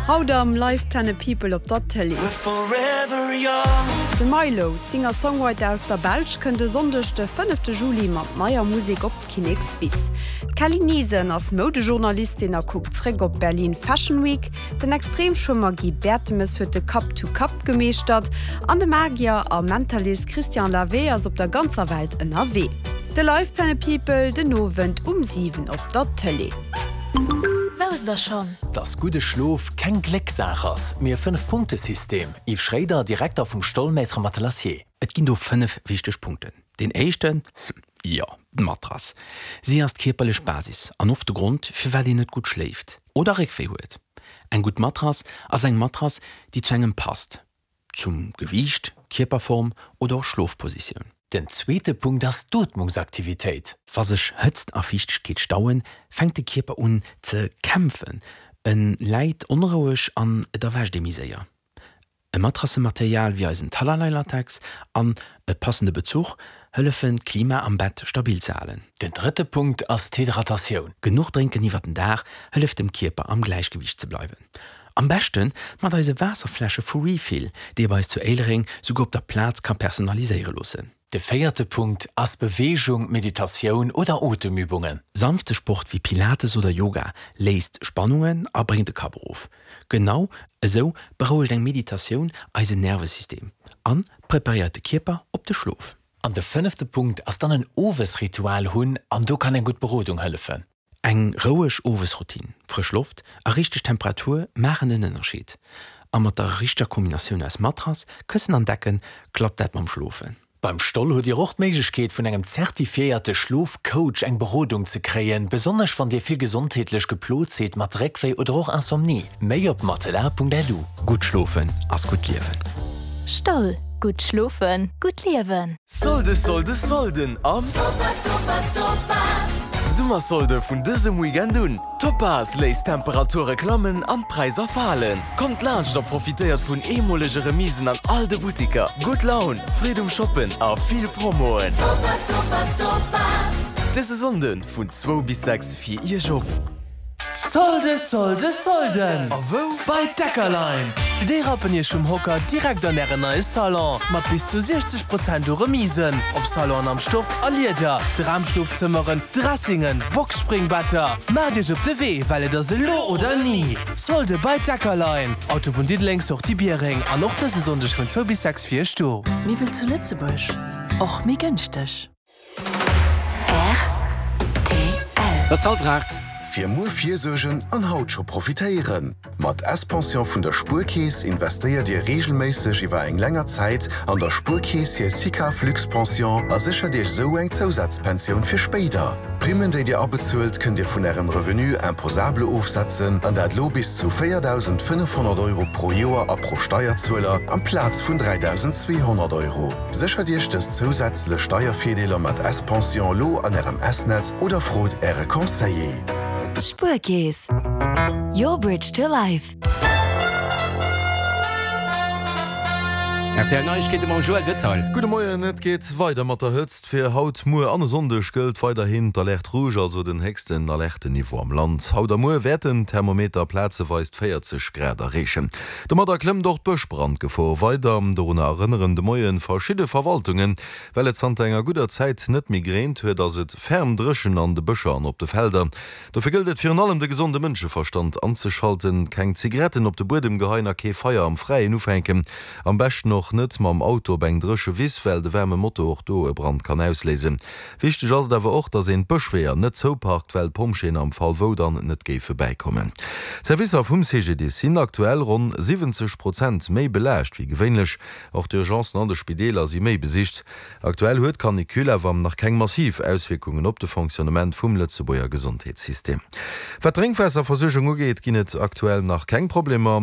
Haut am Live Planet People op der Tëlee. De Mylo, Singer-Songwriter aus der Belsch, kënnt e Sonndeg de fënnefte Juli mat neier Musek op d'Kinnekswiss. D'Kelly Niesen ass Moudejournalistin a kuckt zréck op d'Berlin Fashion Week. Den Extremschwëmmer Guy Bertemes huet de Cup to Cup gemeeschtert an de Magier a Mentalist Christian Lavey ass op der ganzer Welt ënnerwee. De Live Planet People den Owend um 7 op der Tëlee. Wousst der schonn? Dass gudde Schlof keng Glécksaach ass, mee e Fënnf-Punkte-System, Yves Schréider, Direkter vum Stoll Maître Matelassier. Et ginn do 5 wichteg Punkten. Deen éischten, jo, d'Matrass. Si ass d'kierperlech Basis an oft de Grond, firwat een net gutt schléift oder Réckwéi huet. Eng gutt Matrass ass eng Matrass, déi zu engem passt, zum Gewiicht, Kierperform oder och Schlofpositioun. Den zweete Punkt ass d'Ootmungsaktivitéit. Wa sech Hëtzt a Fiichtegkeet stauen, fänkt de Kierper un ze kämpfen, e läit onroueg an et erwächt ee méi séier. E Matrassematerial wéi eisen Talalay-Latex an e passende Bezuch hëllefen, d'Klima am Bett stabil ze halen. Den drëtte Punkt ass d'Hydratatioun. Genuch drénken iwwer den Dag hëlleft dem Kierper am Gläichgewiicht ze bleiwen. Am beschte mat eise Waasserfläsche vu Refill, déi ee bei eis zu Éilereng souguer op der Plaz ka personaliséiere loossen. De véierte Punkt ass Beweegung, Meditatioun oder Otemübungen. Sanfte Sport wéi Pilates oder Yoga léist Spannungen a bréngt de Kapp erof. Genau esou berouegt eng Meditatioun eisen Nervesystem an preparéiert de Kierper op de Schlof. An de fënnefte Punkt ass dann en Owesritual hunn an do kann eng gutt Berodung hëllefen. Eng roueg Owesroutine, frësch Loft a richteg Temperatur maachen den Ënnerscheed. A mat der richteger Kombinatioun aus Matrass, Këssen an Decken klappt dat mam Schlofen. Beim Stoll hutt Dir och d'Méiglechkeet vun engem zertifiéierte Schlofcoach eng Berodung ze kréien, besonnesch wann Dir vill gesondheetlech geplot sidd mat Réckwéi oder och Insomnie. Méi op matelas.lu. Gutt schlofen ass gutt liewen. Stoll, gutt schlofen, gutt liewen. Solde Solde Solden am Topaz Topaz Topaz! Summersolde vun dësem Weekend un! Topaz léisst d'Temperature klammen an d'Präisser falen. Kommt laanscht a profitéiert vun eemolege Remisen an all de Buttiker. Gutt Laun, Freed um Shoppen a vill Promoen! Topaz Topaz Topaz! Dëse Sonnde vun zwou bis 6 fir Iech op. Solde, Solde, Solden! A wou? Bei Deckerlein! Déi rappen iech vum Hocker direkt an ären neie Salon, mat bis zu 60 Prozent u Remisen op Salonen am Stoff a Lieder, Dramschlofzëmmeren, Dressingen, Boxspringbetter. Maacht iech op de Wee, well et ass elo oder ni! Solde bei Deckerlein, Autobunn Diddeleng, Sortie Biereng an och dëse Sonndeg vun zwou bis 6 fir iech do. Miwwel zu Lëtzebuerg, och méi gënschteg. Rtl. Et ass hallwer 8. Fir muer virsuergen an haut scho profitéieren! Mat S-Pension vun der Spuerkeess investéiert Dir reegelméisseg iwwer eng länger Zäit an der Spuerkeess hir SICAV Luxe-Pension a séchert Iech esou eng Zousazpensioun fir spéider. D'Primmen, déi Dir abezuelt, kënnt Dir vun Ärem Revenu imposable ofsetzen, an dat lo bis zu 4.500 Euro pro Joer a pro Steierzueler, amplaz vun 3.200 Euro. Séchert Iech dës zousätzlech Steiervirdeeler mat S-Pension lo an Ärem S-Netz oder frot Äre Conseiller. Spuerkeess, your bridge to life. Rtl Neiegkeete mam Joël Detail. Gudde Moien, Et geet weider mat der Hëtzt. Fir haut, muer an e Sonndeg gëllt weiderhin d'Alerte rouge, also den héchsten Alerteniveau am Land. Haut a muer wäerten d'Thermometer plazeweis d' 40 Grad erreechen. Domadder klëmmt och d'Bëschbrandgefor weider. Dorunner erënneren de Moie verschidde Verwaltungen. Well et zanter enger gudder Zäit net méi gereent huet, ass et ferm dréchen an de Bëscher an op de Felder. Dofir gëllt et virun allem de gesonde Mënscheverstand anzeschalten, keng Zigaretten op de Buedem geheien a kee Feier am Fräien ufänken. Am beschten och net mam Auto op eng dréche Wiss, well de waarme Motor och do e Brand kann ausléisen. Wichteg ass et awer och, dass een d'Bëschweeër net zouparkt, well d'Pompjeeën am Fall wou dann net géife bäikommen. D'Servicer vum CGDIS sinn aktuell ronn 70 Prozent méi belaascht wéi gewéinlech. Och d'Urgencen an de Spideeler si méi besicht. Aktuell huet d'Canicule awer nach keng massiv Auswierkungen op de Fonctionnement vum Lëtzebuerger Gesondheetssystem. Wat d'Drénkwaasserversuergung ugeet, ginn et aktuell nach keng Problemer.